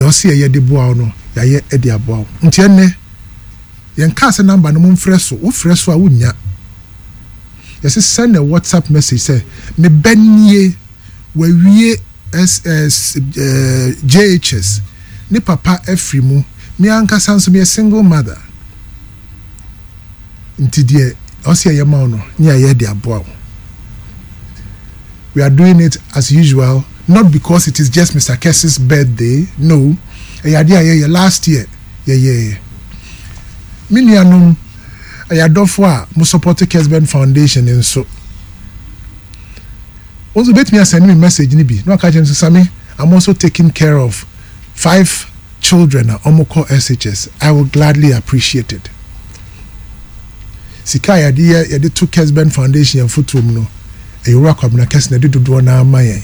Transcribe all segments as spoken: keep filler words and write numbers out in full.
Ɔsi yɛyɛ de boa wo no, yɛayɛ de aboa wo. Nti ɛnnɛ yɛnkaa sɛ number no momfrɛ so. Wofrɛ so a wonnya. Yɛsɛ send a WhatsApp message sɛ me bɛ nie, wawie S S eh, J H S, ne papa afiri mu, me ankasa nso meyɛ single mother, nti deɛ ɔsi ɛyɛ ma wo no ne yɛayɛ de aboa wo. We are doing it as usual, not because it is just Mister Kessy's birthday. No, ɛyɛ adeɛ a yɛyɛ. Last year yɛyɛɛ. Me nuanom, ɛyɛ adɔfo a mo support Kesben Foundation nso, wɔn nso betumi asend me message ni bi na waka kyerɛ me sɛ, "Sami, I'm also taking care of five children a wɔn kɔ S H S." I will gladly appreciate it. Sika a yɛde yɛ, yɛde to Kesben Foundation yɛn fotoɔ mu no, ɛyɛ Owura Kwabena Kɛse na ɛde dodoɔ naa ama yɛn,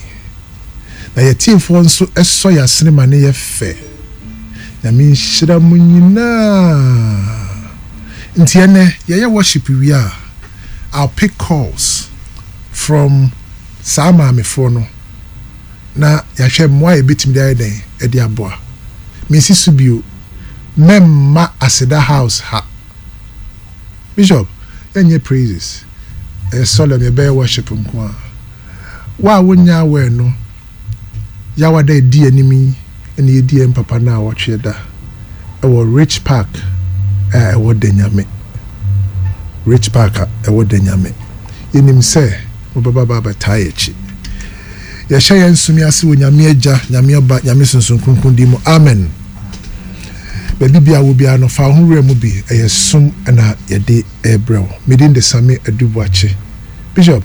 na yɛtiefoɔ nso ɛsɔ yɛ asene ma ne yɛ fɛ. Nyame nhyira mu nyinaa. Nti ɛnɛ yɛyɛ worship wie a, I'll pick calls from saa maamefoɔ no na yɛahwɛ mmoa a yɛbɛtumi de ayɛ dɛn ɛde aboa. Mensi so bio, mɛmma Aseda House ha. Bishop, yɛnyɛ praises, ɛyɛ solemn, yɛbɛyɛ worship nko a. Wo a wonya aware no, Yawada edi anim yi ɛna yɛdi yɛn papa no a wɔtwe da ɛwɔ Rich Park a ɛwɔ Danyame. Rich Park a ɛwɔ Danyame, yɛnim sɛ mobɛba ba abɛtaa yɛ akyi. Yɛhyɛ yɛn nsumi ase wɔ Nyame Agya, Nyame Ɔba, Nyame Sunsun Kronkron din mu, amen. Baabi bia wo biara no, fa wo ho wura mu bi. Ɛyɛ som ɛna yɛde ɛrebrɛ wo. Medin de Sami Adubuakye. Bishop.